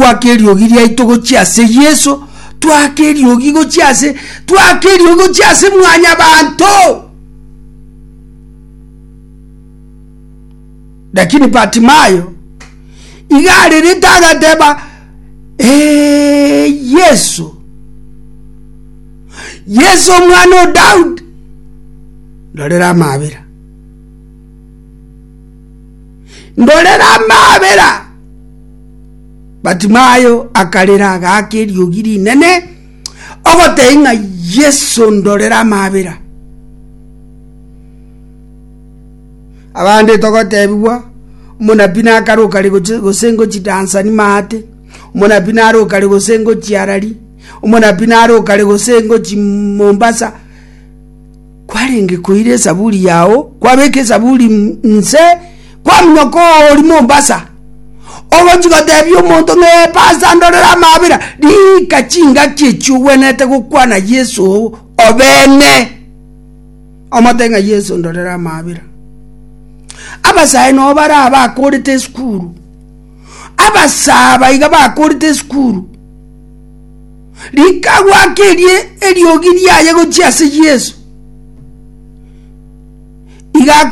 Twake eriogi riaito gochia ase Yeso, twake eriogi gochia ase, twake eriogi gochia ase mwanyabanto. Lakini Bartimayo iga arerete agateba, Ee, Yeso, Yeso omwana o Daudi, ndorera amabera, ndorera amabera. Batimayo akarera agaaka eriogi rinene, ogotebia ng'a Yeso ndorera amabera. Abande togotebigwa, omonabii nakare okare gose ngochi Tanzania maate, omonabii nare okare gose ngochi Harare, omonabii nare okare gose ngochi Mombasa. Kwarenge koira esaburi yao, kwabeka esaburi nse, kwaminyoka oori Mombasa. Ogochia gotebia omonto ng'a ee pastor ndorere amabera, rika chingaki echio ogwenerete gokwana Yeso obene. Omote ng'a Yeso ndorere amabera. Abasae nabo bare aba bakorete esukuru, abasae aba iga bakorete esukuru, rika goaka erie eriogi riaye gochia ase Yeso, iga.